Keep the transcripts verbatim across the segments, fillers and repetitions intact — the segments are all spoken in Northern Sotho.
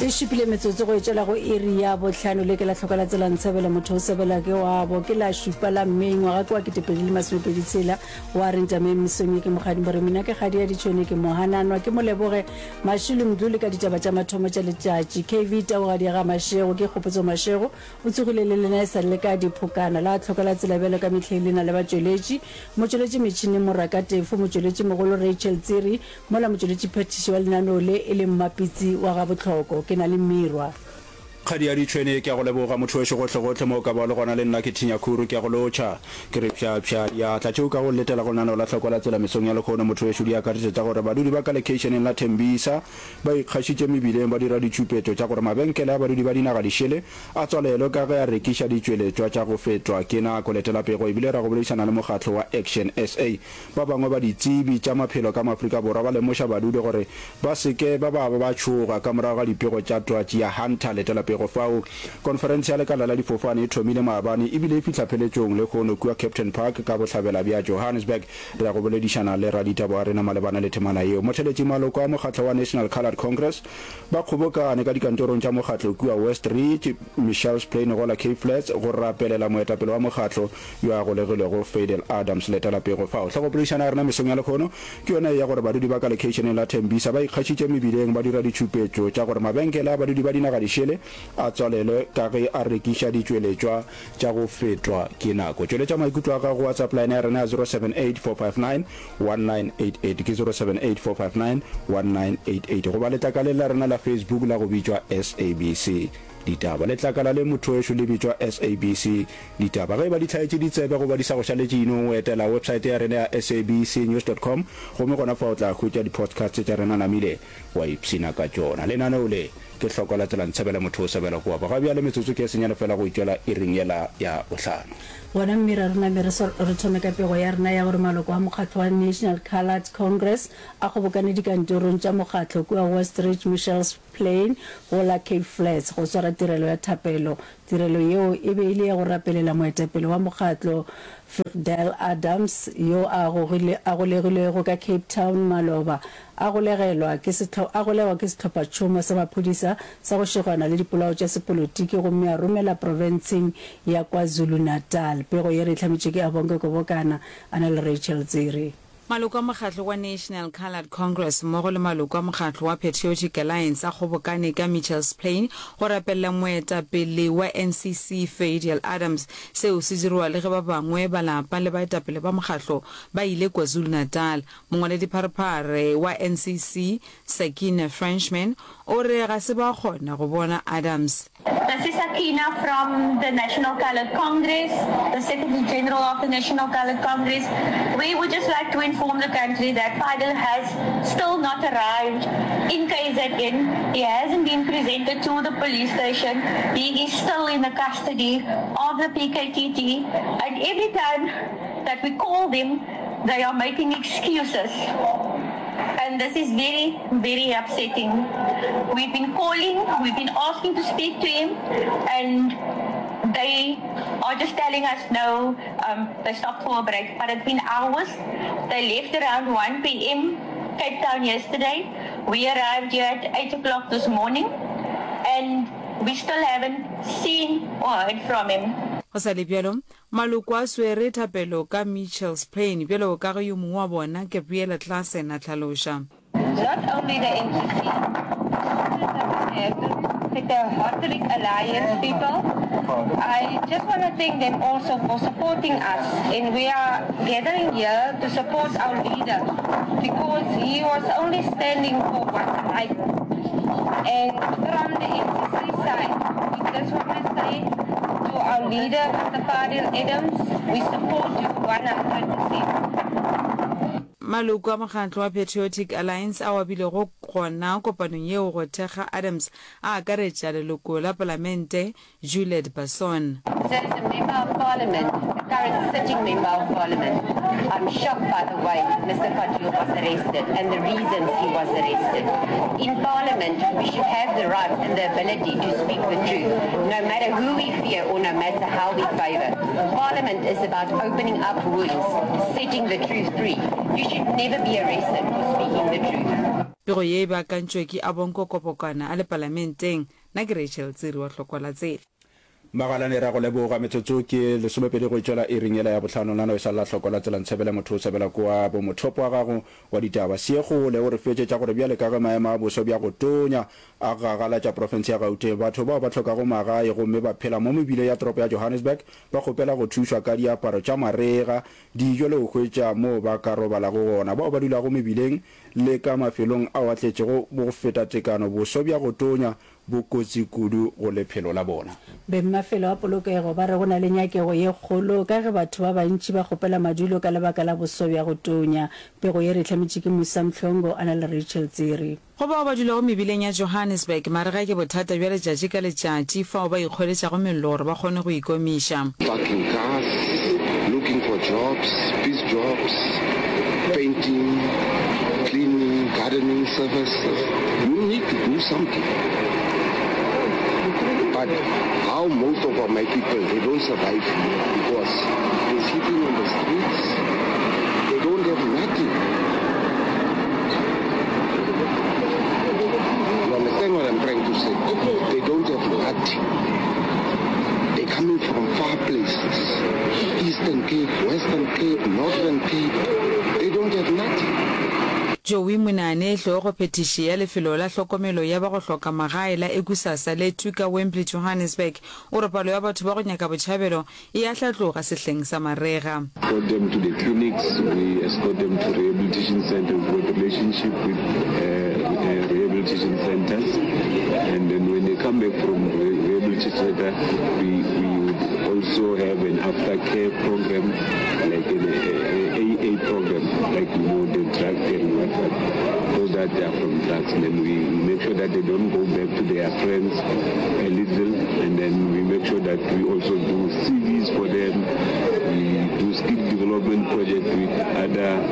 E šupile metsotso go etšela go iri ya bohlano. Le ke la hloka la tsela ntshebela motho o sebela ke wabo. Ke la šupa la May ngwaga ke wa ketepedi le masomepedi tshela. Wa re ntameng mesong ye ke mokgadi more mina ke kgadi ya ditšhone ke mohananwa ke moleboge Mashilo Mdluli ka ditaba tša mathomo tša letšatši. K V Taugadi ya ga Mashego ke Kgopotso Mashego o tsogile le lena e sa le ka diphokana. La hloka la tsela bjalo ka mehleng le na le batšweletši. Motšweletši metšhineng Moraka Tefo, motšweletši mogolo Rachel Tsiri, mola motšweletši phethiši wa lenaneo le e le Mmapitsi wa Gabohloko. Ke na le Mirwa. Kgadi ya ditšhwene, ke a go leboga motho wešo gohlegohle mo o ka bago le gona le nna ke thinya khuru ke a go lotšha. Ke re pšha-pšha diatla tšeo ka go letela go lenaneo la Hlokwa la Tsela mesong ya lehono motho wešo di akaretša tša gore badudi ba ka lekheišeneng la Thembisa ba ikgašitše mebileng ba dira ditšhupetšo tša gore mabenkele a badudi ba dinaga dišele a tswalelwe ka ge a rekiša ditšweletšwa tša go fetwa ke nako. Letela pego ebile ra go boledišana le mokgatlo wa Action S A. Ba bangwe ba ditsebi tša maphelo ka mo Afrika Borwa ba lemoša badudi gore ba se ke ba ba ba tšhoga ka morago ga dipego tša twatši ya Hunter. Letela pego fao. Konferense ya lekala la difofane e thomile maabane ebile e fihla pheletšong lehono kua Kempton Park ka bohlabela bja Johannesburg. Re ya go boledišana le raditaba wa rena malebana le temana yeo. Motheletši maloko a mokgatlo wa National Coloured Congress ba kgobokane ka dikantorong tša mokgatlo kua West Ridge, Mitchells Plain gola Cape Flats go rapelela moetapele wa mokgatlo yo a golegilwego Fadel Adams. Letela pego fao. Hlogopoledišano ya rena mesong ya lehono ke yona ye ya gore badudi ba ka lekheišeneng la Thembisa ba ikgašitše mebileng ba dira ditšhupetšo tša gore mabenkele a badudi ba dinaga dišele a tswalelwe ka ge a rekiša ditšweletšwa tša go fetwa ke nako. Tšweletša maikutlo a gago go WhatsApp line ya rena ya zero seven eight four five nine one nine eight eight ke zero seven eight four five nine one nine eight eight goba letlakaleng la rena la Facebook la go bitšwa S A B C Ditaba. Letlakala le motho wešo le bitšwa S A B C Ditaba. Ge e ba di hlaetše ditsebe goba di sa go šaletše inong, o etela websaete ya rena ya S A B C news dot com gomme gona fa o tla hwetša di-podcast tša rena namile wa ipshina ka tšona. Lenaneo le ke hloko la tsela ntshebela motho o sebela kua. Ga bjale metsotso ke e senyane fela go itšwela iring yela ya bohlano. Gona mme ra rena me re re thome ka pego ya rena ya gore maloko a mokgatlo wa National Coloured Congress a kgobokane dikantorong tša mokgatlo kua West Ridge Mitchells Plain go la Cape Flats go swara tirelo ya thapelo. Tirelo yeo e be e le ya go rapelela moetapele wa mokgatlo Fidel Adams yo a gogile a golegilwego ka Cape Town maloba a golegelwa ke sehlo a golegwa ke sehlophatšhomo sa maphodisa sa go šegwana le dipolao tša sepolotiki gomme a romela profenseng ya KwaZulu-Natal. Pego ye re e hlametše ke Abonke Kobokana a na le Rachel Tsiri. Maloko a mokgatlo wa National Coloured Congress mmogo le maloko a mokgatlo wa Patriotic Alliance a kgobokane ka Mitchells Plain go rapelela moetapele wa N C C Fadiel Adams. Seo se diriwa le ge ba bangwe ba lapa le baetapele ba mokgatlo ba ile KwaZulu-Natal. Mongwaledipharephare wa N C C Sakina Frenchman o re ga se ba kgona go bona Adams. This is Sakina from the National Coloured Congress, the Secretary General of the National Coloured Congress. We would just like to inform the country that Fadiel has still not arrived in K Z N. He hasn't been presented to the police station. He is still in the custody of the P K T T. And every time that we call them, they are making excuses. And this is very, very upsetting. We've been calling, we've been asking to speak to him, and they are just telling us no, um, they stopped for a break. But it's been hours. They left around one p m. Cape Town yesterday. We arrived here at eight o'clock this morning, and we still haven't seen or heard from him. Go sa le bjalo, maloko a swere thapelo ka Mitchells Plain bjalo ka ge yo mongwe wa bona, Gabriella Claassen, a hlaloša. Not only the N C C, the Rotary Alliance people. I just want to thank them also for supporting us. And we are gathering here to support our leader because he was only standing for what's right. And from the N C C side, we just want to say to our leader, Mister Fadiel Adams, we support you one hundred percent. Maloko a mokgatlo wa Patriotic Alliance ao a bilego gona kopanong yeo go thekga Adams a akaretša leloko la palamente Juliet Basson. So as a member of parliament, the current sitting member of parliament, I'm shocked by the way Mister Fadiel was arrested and the reasons he was arrested. In parliament, we should have the right and the ability to speak the truth, no matter who we fear or no matter how we favor. Parliament is about opening up wounds, setting the truth free. You should never be arrested for speaking the truth. Pego ye e beakantšwe ke Abonko Kopokwana a le Palamenteng. Nna ke Rachel Tsiri wa Hlokwa la Tsela. Magalane, Ra go leboga. Metsotso ke lesomepedi go e tšwela iring yela ya bohlano. Nano e sa lla hloko la tsela ntshebele motho o sebela kwa bo mothopo wa gago wa ditaba. Seekgole o re fetšetša gore bjale ka ge maemo a boso bja go tonya a gagalatša profense ya Gauteng, batho bao ba hlokago magae gomme ba phela mo mebileng ya toropo ya Johannesburg ba kgopela go thušwa ka diaparo tša marega, dijo le go hwetša moo ba ka robalago gona. Bao ba dulago mebileng le ka mafelong ao a tletšego bo go feta tekano, boso bja go tonya bo kotsi kudu go lephelo la bona. Bengmafelo a polokego ba re go na le nyakego ye kgolo ka ge batho ba bantši ba kgopela madulo ka lebaka la boso bja go tonya. Pego ye re e hlametše ke Musa Mhlongo a na le Rachel Tsiri. Go bao ba dulago mebileng ya Johannesburg, marega ke bothata bja letšatši ka letšatši fao ba ikgweletšago mello gore ba kgone go ikomiša. Parking cars, looking for jobs, piece jobs, painting, cleaning, gardening services, you need to do something. But how most of our my people, they don't survive here because they're sleeping on the streets, they don't have nothing. You understand what I'm trying to say? They don't have nothing. They're coming from far places, Eastern Cape, Western Cape, Northern Cape, they don't have nothing. Joey Monane, hlogo-phethiši ya lefelo la hlokomelo ya ba go hloka magae la Ekusasa le Tuka Wembley Johannesburg, o re palo ya batho ba go nyaka botšhabelo e a hlatloga sehleng sa marega. Escort them to the clinics, we escort them to rehabilitation centre, we've got relationship with rehabilitation centres and then when they come back from rehabilitation centre we, we would also have an aftercare program like an A A program like you know the drug and what what those that are from drugs and then we, we make sure that they don't go back to their friends a little and then we make sure that we also do C Vs for them, we do skill development project with other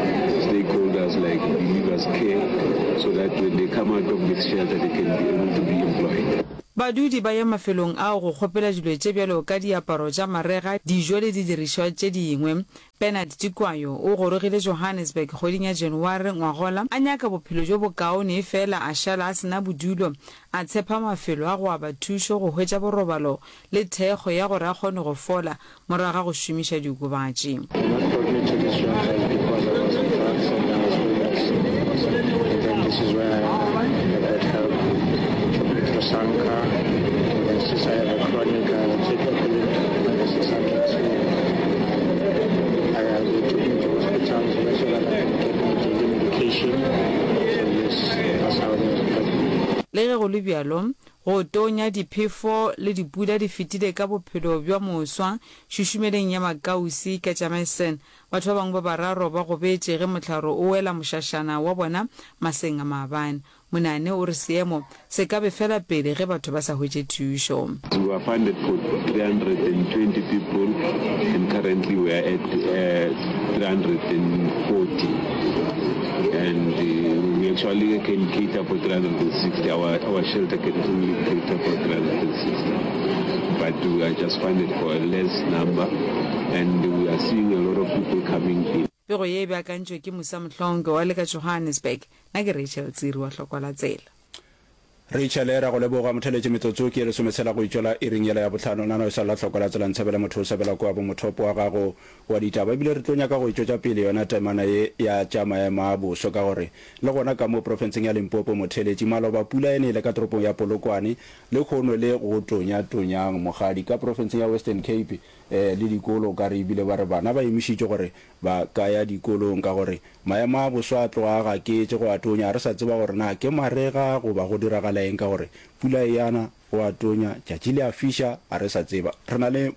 stakeholders like Believers Care so that when they come out of this shelter they can be able to be employed. Badudi ba ya mafelong ao go kgopela dilo tše bjalo ka diaparo tša marega, dijo le didirišwa tše dingwe. Bernard Tikwayo o gorogile Johannesburg kgweding ya January ngwagola a nyaka bophelo bjo bokaone efela a šala a se na bodulo, a tshepa mafelo a go aba thušo go hwetša borobalo le thekgo ya gore a kgone go fola morago ga go šomiša diokobatši. What brought me to this shelter is because I was on drugs and I was homeless. And then this is where I, I got help through SANCA. And then since I have a chronic, I take epilepsy medicine, so I, I, they took me to hospitals so that I can get my daily medication. So yes, that's how they helped me. Le ge go le bjalo, go tonya, diphefo le dipula di fetile ka bophelo bja moswa šušumeleng ya Makausi ka Jameson. Batho ba bangwe ba bararo ba gobetše ge mohlare o wela mošašana wa bona maseng a maabane. Monane o re seemo se ka befela pele ge batho ba sa hwetše thušo. We were funded for three hundred and twenty people and currently we are at three hundred and forty and we actually can cater for three hundred and sixty. Our, our shelter can only cater for three hundred and sixty, but we are just funded for a less number and we are seeing a lot of people coming in. Pego ye e beakantšwe ke Musa Mhlongo wa le ka Johannesburg. Nna ke Rachel Tsiri wa Hlokwa la Tsela. Rachel, Ra go leboga motheletše metsotso ke ye lesometshela go itšwela iring yela ya bohlano. Nna no e sa lla hloko la tsela ntshebele motho o sebela kua bo mothopo wa gago wa ditaba. Ebile re tlo nyaka go e tšwetša pele yona temana ye ya tša maemo a boso ka gore le gona ka mo profenseng ya Limpopo motheletši maloba pula e nele ka toropong ya Polokwane lehono le go tonya tonyang mokgadi ka profenseng ya Western Cape le dikolo o ka re ebile ba re bana ba emišitšwe gore ba ka ya dikolong ka gore maemo a boso a tloga a gaketše go a tonya. Ga re sa tseba gore na ke marega goba go diragala eng ka gore pula e yana, go a tonya, tšatši le a fiša, ga re sa tseba. Re na le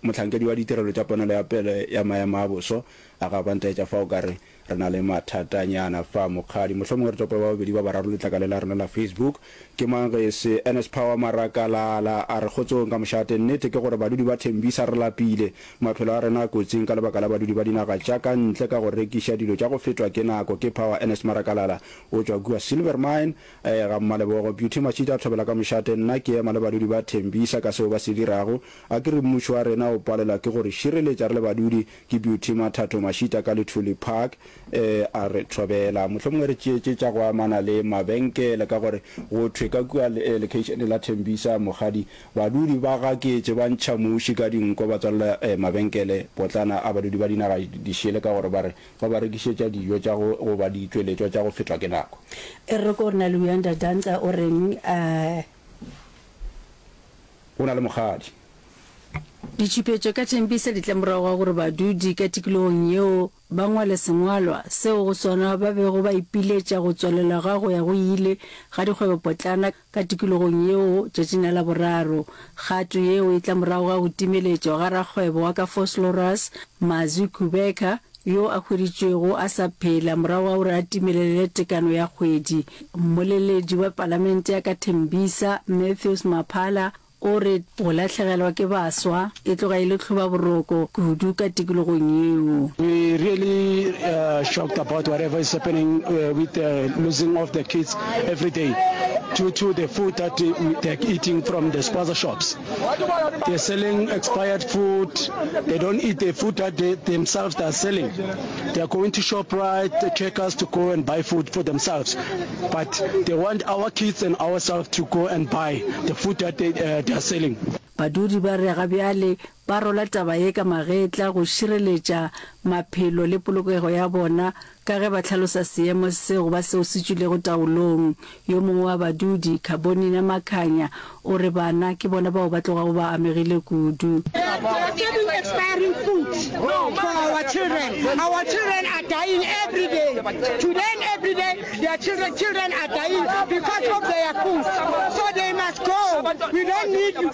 mohlankedi wa ditirelo tša ponelo ya pele ya maemo a boso, a ga ba ntaetša fa o ka re re na le mathatanyana fa mokgadi. Mohlomongwe re tope ba babedi ba bararo letlakale la rena la Facebook. Ke mang ge e se Ernest Power Marakalala a re kgotsong ka mošate. Nnete ke gore badudi ba Thembisa re lapile. Maphelo a rena a kotsing ka lebaka la badudi ba dinaga tša ka ntle ka go rekiša dilo tša go fetwa ke nako. Ke Power Ernest Marakalala o tšwa kua Silvermine ga Mmalebogo. Beauty Mashita a thobela ka mošate. Nna ke ema le badudi ba Thembisa ka seo ba se dirago. A ke re mmušo wa rena o palelwa ke go re šireletša re le badudi. Ke Beauty Mathatho Mashita ka Luthuli Park. eh, a re thobela. Mohlomongwe re tšee tše tša go amana le mabenkele ka gore go thwe ka kua eh, lekeišene la Thembisa, Mokgadi, badudi ba gaketše ba ntšha muši ka dinko ba tswalela eh, mabenkele potlana a badudi ba dinaga dišele ka gore ba re ba ba rekišetša dijo tša go goba ditšweletšwa tša go fetwa ke nako. E re ko re na le Uyanda Danca o reng eh. O na le mokgadi. Ditšhupetšo ka Tembisa di tla morago ga gore badudi ka tikologong yeo ba ngwale sengwalwa seo go sona ba bego ba ipiletša go tswalelwa ga go ya go ile ga dikgwebopotlana ka tikologong yeo tšatšing la Laboraro. Kgato yeo e tla morago ga go timeletšwa ga rakgwebo wa ka Vosloorus, Mazwi Kubheka, yo a hweditšwego a sa phela morago ga gore a timelele tekano ya kgwedi. Mmoleledi wa Palamente ya ka Tembisa, Matthews Maphala, o re go lahlegelwa ke baswa e tloga e le tlhobaboroko kudu ka tikologong yeo. We really shocked about whatever is happening with the losing of the kids every day due to the food that they're eating from the spaza shops. They're selling expired food, they don't eat the food that they themselves they are selling. They are going to Shoprite, Checkers to go and buy food for themselves but they want our kids and ourselves to go and buy the food that they, uh, they are selling. Badudi ba re ga bjale ba rola taba ye ka magetla go šireletša maphelo le polokego ya bona ka ge ba hlalosa seemo se go ba seo se tšwilego taolong. Yo mongwe wa badudi, Khabonina Makhanya, o re bana ke bona bao ba tlogago ba amegile kudu. They are serving expiring food for our children. Our children are dying every day. Today and every day, their children, children are dying because of their food. So they must go. We don't need you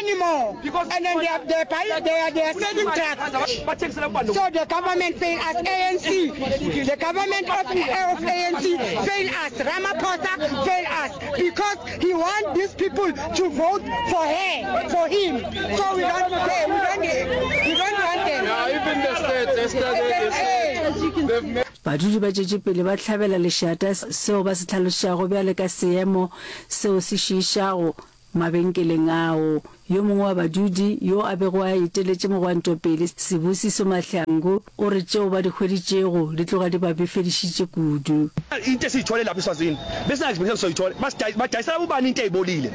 anymore. And then they are, they are, buying, they are, they are selling drugs. So the government fail us, A N C. The government of, of A N C fail us. Ramaphosa fail us because he wants these people to vote for her, for him. So we don't care. We don't, we don't want them. Yeah, even the state, yesterday they said they've made Badudi ba tšwetše pele ba hlabela lešata seo ba se hlalošago bjale ka seemo seo se šiišago mabenkeleng ao. Yo mongwe wa badudi yo a bego a eteletše mogwanto pele, Sibusiso Mahlangu, o re tšeo ba di hweditšego di tloga di ba befedišitše kudu. Into esiyithole lapha eSwazini besingayixpectanga soyithola, badayisela bobani into ezibolile,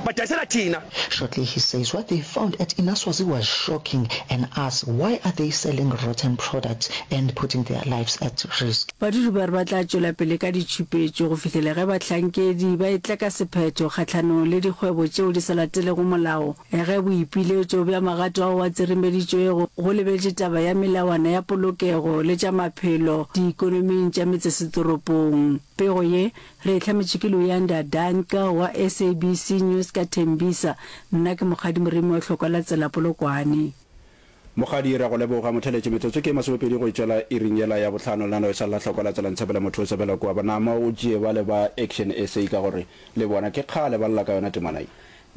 badayisela thina. Shortly he says what they found at Inaswazi was shocking and asks why are they selling rotten products and putting their lives at risk. Badudi ba re ba tla tšwela pele ka ditšhupetšo go fihlela ge bahlankedi ba etla ka sephetho kgahlanong le dikgwebo tšeo di sa latelego molao. Ge boipiletšo bja magato ao a tseremeditšwego go lebeletše taba ya melawana ya polokego le tša maphelo diikonoming tša metsesetoropong. Pego ye re e hlametšwe ke Luyanda Danka wa S A B C News ka Tembisa. Nna ke Mokgadi Moremi wa Hlokwa la Tsela Polokwane. Mokgadi, re a go leboga. Motheletši, metsotso ke e masomepedi go e tšwela iring yela ya bohlano. Lenaneo e sa le la Hlokwa la Tsela Ntshepela motho o sebela kua. Nama o tšee bale ba Action S A ka gore le bona ke kgale ba lla ka yona temana ye.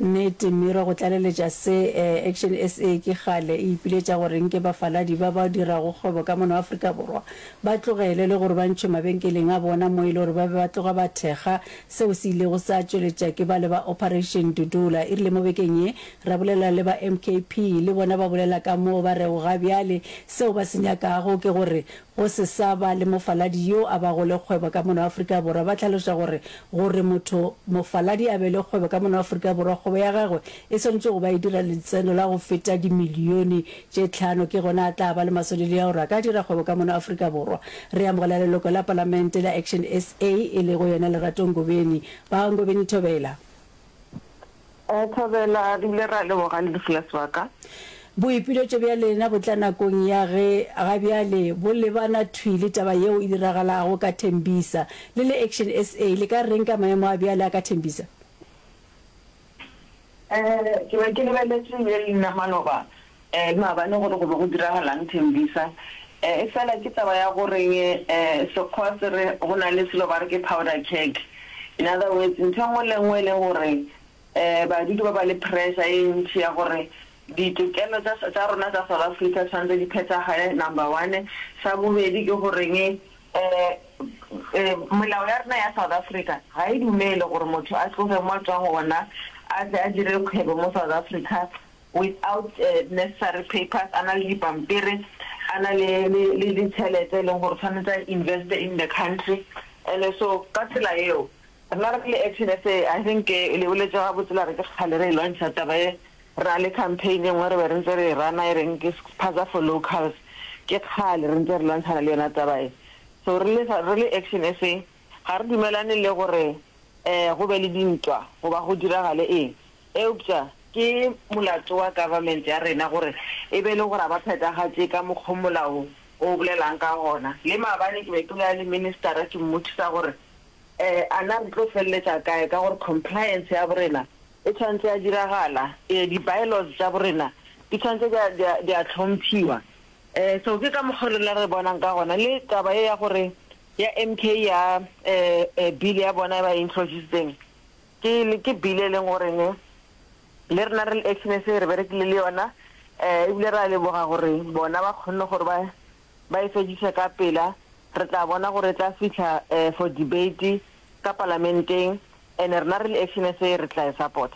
Nnete, Miro, go tlaleletša se, Action S A ke kgale e ipiletša gore nke bafaladi ba ba dirago kgwebo ka mono Afrika Borwa ba tlogele le gore ba ntšhwe mabenkeleng a bona mo e le gore ba be ba tloga ba thekga seo se ilego sa tšweletša ke bale ba Operation Dudula. E rile mo bekeng ye ra bolela le ba M K P le bona ba bolela ka moo ba rego ga bjale seo ba se nyakago ke gore go se sa ba le mofaladi yo a bago le kgwebo ka mono Afrika Borwa. Ba hlaloša gore gore motho mofaladi a be le kgwebo ka mono Afrika Borwa, kgwebo ya gagwe e swanetše go ba e dira letseno la go feta dimilione tše tlhano ke gona a tla ba le maswanedi a gore a ka dira kgwebo ka mono Afrika Borwa. Re amogela leloko la Palamente la Action S A e lego yena Lerato Ngobeni. Ba Ngobeni Thobela. Thobela, re bile ra leboga le lefu la sebaka. Boipiletšo bja lena bo tla nakong ya ge ga bjale bo lebana thwi le taba yeo e diragalago ka Tembisa. Le le Action S A, le ka reng ka maemo a bjale a ka Tembisa? Ke be ke lebeletše ye le nna maloba le maabane gore go be go diragalang Tembisa. Efela ke taba ya goreng Sekgowa se re go na le selo ba re ke powder keg. In other words, ntho e nngwe le nngwe e leng gore badudi ba ba le pressure e ntši ya gore ditokelo tša tša rona tša South Africa tshwanetse di phethagale number one. Sa bobedi ke goreng molao ya rena ya South Africa ga e dumele gore motho a tloge mo a tswang gona a tle a dire kgwebo mo South Africa without necessary papers, a na le dipampiri, a na le le le le tšhelete e leng gore tshwanetse a investe in the country. And so ka tsela yeo rena re le Action S A, I think le boletše gabotse la re ke kgale re e lwantšha taba ye. Re na le campaign e nngwe re be re ntse re e rana e reng ke Spaza for Locals, ke kgale re ntse re lwantšhana le yona taba ye. So re le re le Action S A ga re dumelane le gore um go be le dintwa goba go diragale eng, eupša ke molato wa government ya rena gore e be le gore ga ba phethagatše ka mokgo molao o bolelang ka gona. Le maabane ke be ke bolela le ministera ke mmotšiša gore um a na re tlo feleletša kae ka gore compliance ya borena e tshwanetse ya diragala, ee di-bylaws tša borena di tshwanetse di a di a hlomphiwa. Um so ke ka mokgo rena re bonang ka gona. Le taba ye ya gore ya M K ya um bill ya bona e ba e introducetseng ke ke bill e leng goreng le rena re le Action S A re berekile le yona, um ebile re a leboga gore bona ba kgonne gore ba ba e fediše ka pela. Re tla bona gore e tla fihla um for debate ka palamenteng, and rena re le Action S A re tla e support.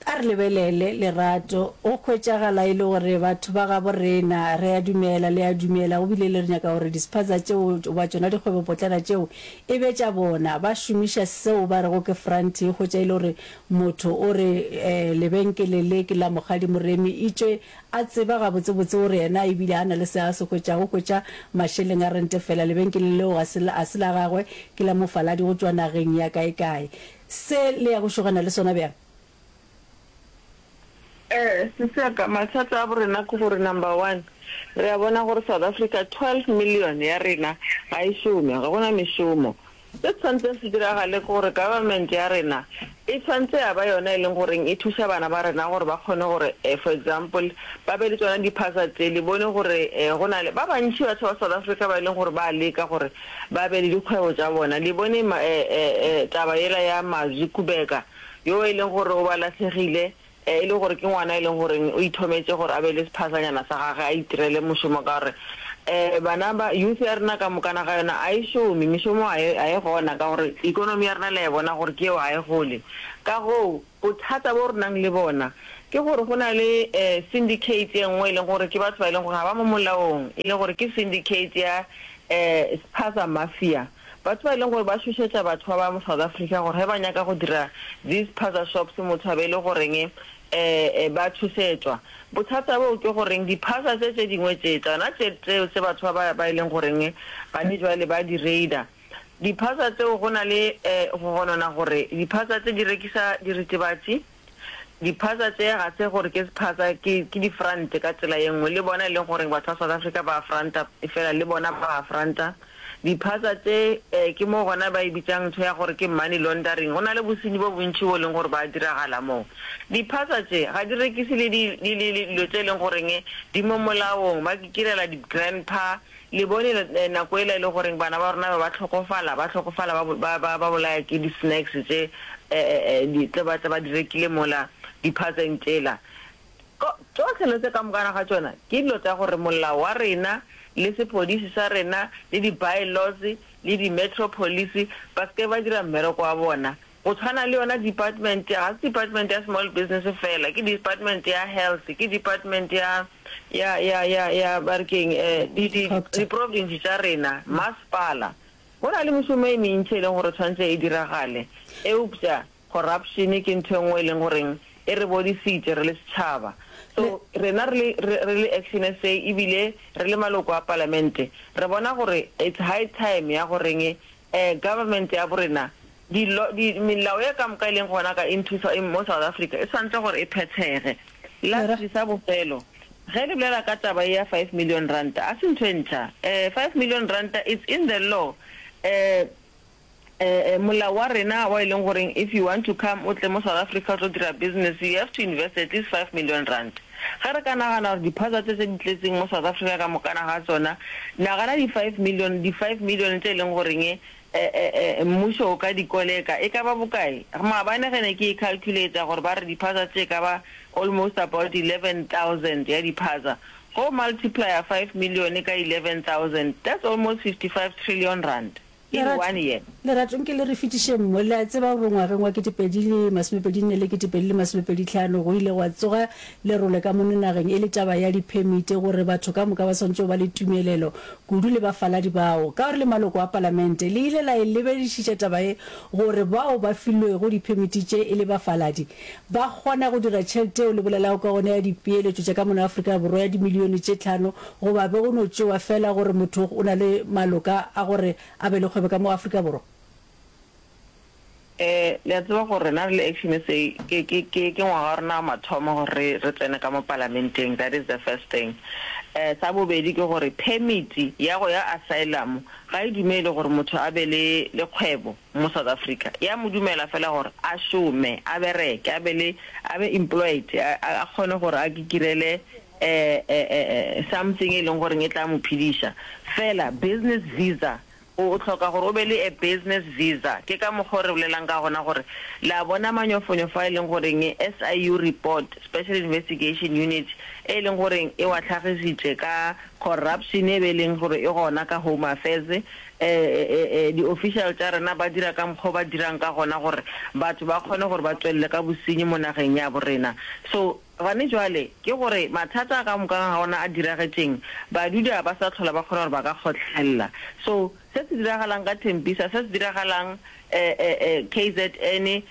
A re lebelele, Lerato. Go hwetšagala e le gore batho ba gabo rena, re a dumela, le a dumela, go bile le re nyaka gore dispaza tšeo goba tšona dikgwebopotlana tšeo e be tša bona. Ba šomiša seo ba rego ke front, e hwetša e le gore motho o re um lebenkele le ke la Mokgadi Moremi, etšwe a tseba gabotsebotse gore yena ebile a na le se a se hwetšago, o hwetša mašeleng a rente fela. Lebenkele leo ga se ga se la gagwe, ke la mofaladi go tšwa nageng ya kaekae. Se le ya go šogana le sona bjang? Ee, sesi ya ka, mathata a borena ke gore number one, re a bona gore South Africa twelve million ya rena ga e šome, ga gona mešomo. Se tshwanetseng se diragale ke gore government ya rena e tshwanetse ya ba yona e leng goreng e thuša bana ba rena gore ba kgone gore for example ba be le tsona di-phasa tse. Le bone gore go na le ba bantši batho ba South Africa ba e leng gore ba leka gore ba be le dikgwebo tša bona. Le bone taba yela ya Mazwi Kubeka yo e leng gore o ba lahlegile, e le gore ke ngwana e leng goreng o ithometše gore a be le sephasanyana sa gage a itirele mošomo, ka gore um bana ba youth ya rena ka mokana ga yona a e šome, mešomo a e a e gona ka gore economy ya rena le a e bona gore ke yeo ga e gole. Ka goo bothata bo re nang le bona ke gore go na le um syndicate e nngwe e leng gore ke batho ba e leng gore ga ba mo molaong, e le gore ke syndicate ya um spaza mafia, batho ba e leng gore ba šošetša batho ba ba mo South Africa gore ge ba nyaka go dira these spaza shops motho a be e le goreng um ba tšhošetšwa. Bothata boo ke goreng diphasa tše tše dingwe tše tsona tše tšeo tše batho ba ba e leng goreng gane jwale ba di raider, diphasa tseo go na le um go gonona gore diphasa tše di rekisa diritibatši. Diphasa tše ga se gore ke sephasa, ke ke di-front ka tsela ye nngwe, le bona e leng goreng batho ba South Africa ba fronta, efela le bona ba fronta. Diphasa tše um ke mo gona ba e bitšang ntho ya gore ke money laundering, go na le bosenyi bo bontši bo e leng gore ba diragala moo. Diphasa tše ga di rekise le di le le dilo tše e leng goreng di mo molaong, ba kikirela di-grandpa. Le bone nako ela e le goreng bana ba rona ba ba hlokofala, ba hlokofala ba ba ba ba bolaya ke di-snacks tše um di tle ba tle ba di rekile mola diphaseng tšela. Tšohle dilo tše ka mokana ga tšona ke dilo tša gore molao wa rena le sepodisi sa rena le di-by-laws le di-metro police ba se ke ba dira mmereko wa bona. Go tshwana le yona department, ga se department ya small business fela, ke department ya health, ke department ya ya ya ya ya ba re keng di di di-province tša rena, masepala. Go na le mešomo e mentši e leng gore tshwanetse e diragale, eupša corruption ke ntho e nngwe e leng goreng e re bodisitše re le setšhaba. So rena re le re le Action S A ebile re le maloko a palamente re bona gore it's high time ya goreng um government ya borena dilo di melao ye ka moka e leng gona ka into mo South Africa e tshwanetse gore e phethege. Lastly sa bofelo, ge le bolela ka taba ye ya five million ranta, a se ntho e ntšha. Um five million ranta it's in the law. Um um molao wa rena wa e leng goreng if you want to come o tle mo South Africa o tlo dira business you have to invest at least five million rand. Ge re ka nagana gore diphasa tše tse di tletseng mo South Africa ka mokana ga tsona, nagana di five million, di five million tše e leng goreng mmušo o ka di koleka e ka ba bokae? Maabane ge ne ke e calculator gore ba re diphasa tše e ka ba almost about eleven thousand ya diphasa, go multiplier five million ka eleven thousand, that's almost fifty five trillion rand. In Lerato, one year. Lerato, nke le re fetišeng mo. Le a tseba gore ngwageng wa ketepedi le masomepedi nne le ketepedi le masomepedi tlhano go ile gwa tsoga lerole ka mono nageng e le taba ya diphemiti gore batho ka moka ba swanetše go ba le tumelelo, kudu le bafaladi bao. Ka gore le maloko a palamente, le ile la e lebedišiša taba ye gore bao ba filwego diphemiti tše e le bafaladi ba kgona go dira tšhelete yeo le bolelago ka gona ya dipeeletšo tša ka mono Afrika Borwa ya dimilione tše tlhano goba be go no tšewa feela gore motho o na le maloka a gore a be le kgwebo ka mo Afrika Borwa. Eh, le a tseba gore rena re le Action SA ke, ke, ke, ke ngwaga wa rena wa mathomo gore re, re tsene ka mo palamenteng, that is the first thing. Eh, sa bobedi ke gore permit ya go ya asylum ga e dumele gore motho a be le, le kgwebo mo South Africa. Ya mo dumela fela gore a šome, a bereke, a be le, a be employed, a, a, a kgone gore a kikirele eh, eh, eh, something e leng goreng e tla mo phediša. Fela business visa, o, o hloka gore o be le a business visa. Ke ka mokgwa o re bolelang ka gona gore le a bona manyofonyofo a e leng goreng S I U report, Special Investigation Unit, e leng goreng e wa hlagišitše ka corruption e be e leng gore e gona ka Home Affairs, eh, eh, eh, di-official tša rena ba dira ka mokgwa o ba dirang ka gona gore batho ba kgone gore ba tšwelele ka bosenyi mo nageng ya bo rena. So, Gane jwale, ke gore mathata a ka moka ga ona a diragetšeng, badudi ga ba sa hlola ba kgona gore ba ka kgotlhelela. So, se se diragalang ka Tembisa, se se diragalang K Z N,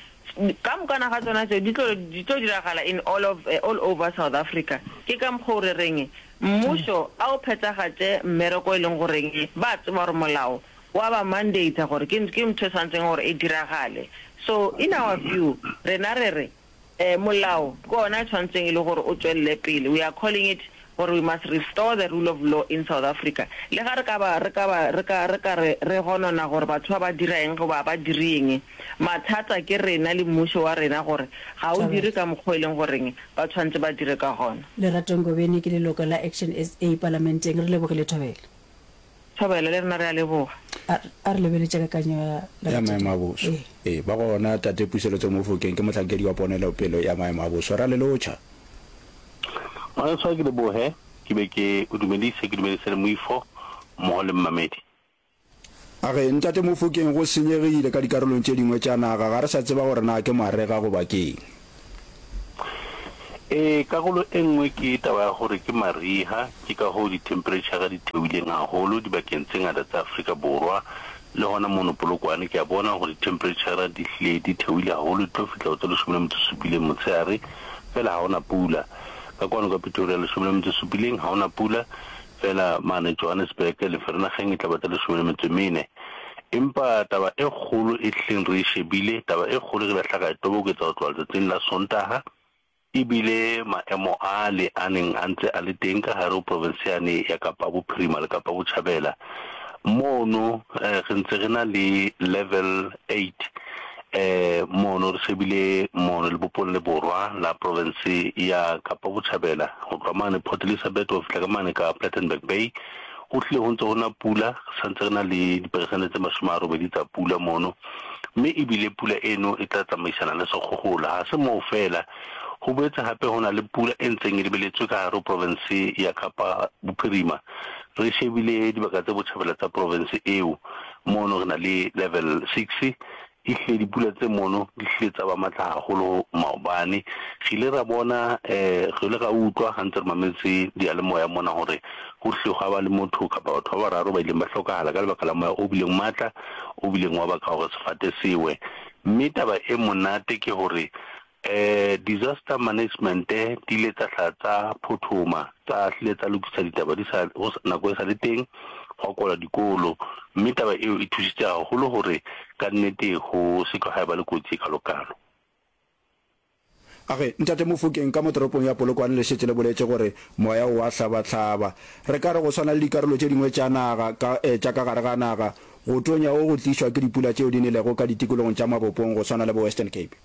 ka mokana ga tsona tšeo di tlo, di tlo diragala in all of, all over South Africa. Ke ka mokgwa o re reng mmušo a o phethagatše mmereko e leng goreng ba tseba gore molao wa ba mandate-a gore ke, ke ntho e swanetseng gore e diragale. So, in our view, rena re re, Molao ke ona e tshwanetseng e le gore o tšwelele pele. We are calling it gore we must restore the rule of law in South Africa. Le ga re ka ba, re ka ba, re ka, re ka re, re gonona gore batho ba ba dira eng goba ga ba dire eng, mathata ke rena le mmušo wa rena gore ga o dire ka mokgwa o e leng goreng ba tshwanetse ba dire ka gona. Lerato Ngobeni ke leloko la Action S A Palamenteng. Re lebogile Thobela. Thobela, le rena re a leboga. A, a re lebeletše kakanyo ya Ya Lerato. maemo a boso. Ee. Ee, ba gona, Tate Puseletso Mofokeng ke mohlankedi wa ponelopele ya maemo a boso. Ra le lotšha. Ngwaneso a ke leboge, ke be ke o dumedise, ke dumedise le moifo mmogo le mmamedi. A re, Ntate Mofokeng, go senyegile ka dikarolong tše dingwe tša naga, ga re sa tseba gore na ke marega goba ke'ng. Ee, karolo e nngwe ke taba ya gore ke mariga, ke ka hoo dithemphereitšhara di theohileng haholo dibakeng tse ngata tsa Afrika Borwa. Le gona mono Polokwane ke a bona gore dithemphereitšhara di hlile di theohile haholo, di tlo fihla go tse lesome le metšo supileng motshehare, fela ga go na pula. Ka kwano ka Pretoria lesome le metšo supileng, ga go na pula, fela mane Johannesburg le Vereeniging e tla ba tse lesome le metšo e mene. Empa taba e kgolo e hlileng re e shebile, taba e kgolo e re ile hla ra e toboketsa go tloha letsatsing la Sontaga, E bile maemo ale a neng a ntse a le teng ka gare ho provinse yane ya Kapa Bophirima le Kapa Botjhabela. Mono re ntse re na le level eight mono re shebile mono lebopong le borwa la provinse ya Kapa Botjhabela ho tloha mane Port Elizabeth ho fihla ka mane ka Plettenberg Bay. Ho hlile ho ntse ho na pula, re sa ntse re na le diperesente tse mashome a robedi tsa pula mono, mme ebile pula eno e tla tsamaisana le sekgohola. Ha se moo feela, ho boetse hape ho na le pula e ntseng e lebeletswe ka hare ho provense ya Kapa Bophirima. Re shebile dibaka tse botjhabela tsa provense eo, mono re na le level six, Ehlile dipula tse mono di hlile tsa ba matla haholo maobane. Re ile ra bona, re ile ra utlwa ha ntse re mametse diyalemoya mona hore ho hlile hwa ba le motho kapa batho ba bararo ba ileng ba hlokahala ka lebaka la moya o bileng matla, o bileng wa baka hore sefate se we. Mme taba e monate ke hore Disaster management di ile tsa hla tsa phothoma, tsa hlile tsa lokisa ditaba di sa, nako e sa le teng, gwa kwalwa dikolo, mme taba eo e thusitse haholo hore ka nnete ho se ke gwa eba le kotsi e kalokalo. A re, Ntate Mofokeng, ka mo toropong ya Polokwane le šetše le boletše gore moya o a hlabahlaba. Re ka re go swana le dikarolo tše dingwe tša naga ka, tša ka gare ga naga, go tonya go go tlišwa ke dipula tšeo di nelego ka ditikologong tša mabopong go swana le bo Western Cape.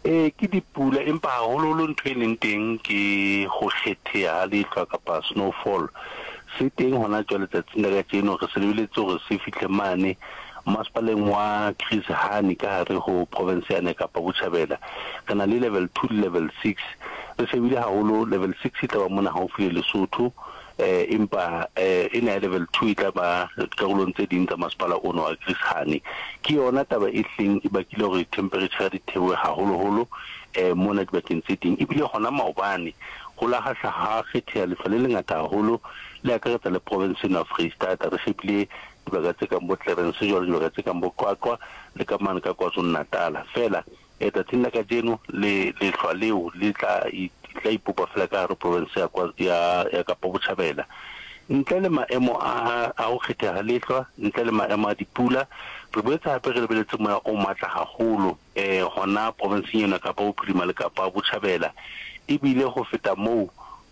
Ee, ke dipula, empa haholoholo ntho e leng teng ke go kgetheha ga lehlwa kapa snowfall. Se teng hona jwale tsatsing la kajeno, re se lebeletse hore se fihle mane masepaleng wa Chris Hani ka hare ho province yane ya Kapa Botjhabela. Re na le level two le level six. Re shebile haholo level six e tla ba mona haufi le Lesotho, Empa ena ya level two e tla ba dikarolong tse ding tsa masepala ono wa Chris Hani. Ke yona taba e hleng e bakile hore dithemperetjhara di theohe haholoholo mona dibakeng tse ding. Ebile hona maobane ho la ha hla ha kgetheha lehlwa le lengata haholo le akaretsa le provense eno ya Freistata. Re shebile dibaka tse kang bo Clarens jwalo, dibaka tse kang bo Qwaqwa le ka mane ka KwaZulu-Natala. Feela Letsatsing la kajeno, le, lehlwa leo le tla, tla ipopa feela ka gare profense ya, ya, ya Kapa Botjhabela. Ntle le maemo a, a ho kgetheha ha lehlwa, ntle le maemo a dipula, re boetse hape re lebeletse moya o matla haholo eh, hona profenseng eno ya Kapa Bophirima le Kapa Botjhabela. Ebile ho feta moo,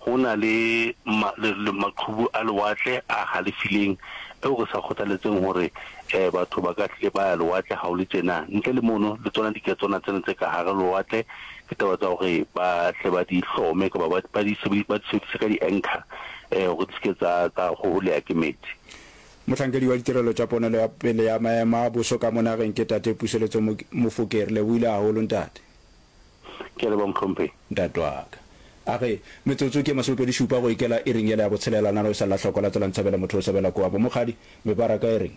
Ho na le ma, le, le maqhubu a lewatle a halefileng eo re sa kgothaletseng hore eh, batho ba ka hlile ba ya lewatle ha ho le tjena. Ntle le mono, le tsona diketswana tsena tse ka hara lewatle ke taba tsa hore ba hle ba di hlome kapa ba, ba di sebedi, ba di sebedise ka di-anchor eh, hore di se ke tsa, tsa hoholeha ke metsi. Mohlankedi wa ditirelo tša ponelo ya pele ya maemo a boso ka mo nageng ke Tate Puseletso Mofokeng. Re lebohile haholo ntate. Ke a leboha mohlomphehi. Ntate wa ka. A re, Metsotso ke masomepedi šupa go ikela iring yela ya botshelela, nalo e sa lla hloko la tsela nthabela motho o sebela koa bo mokgadi, mebaraka e reng?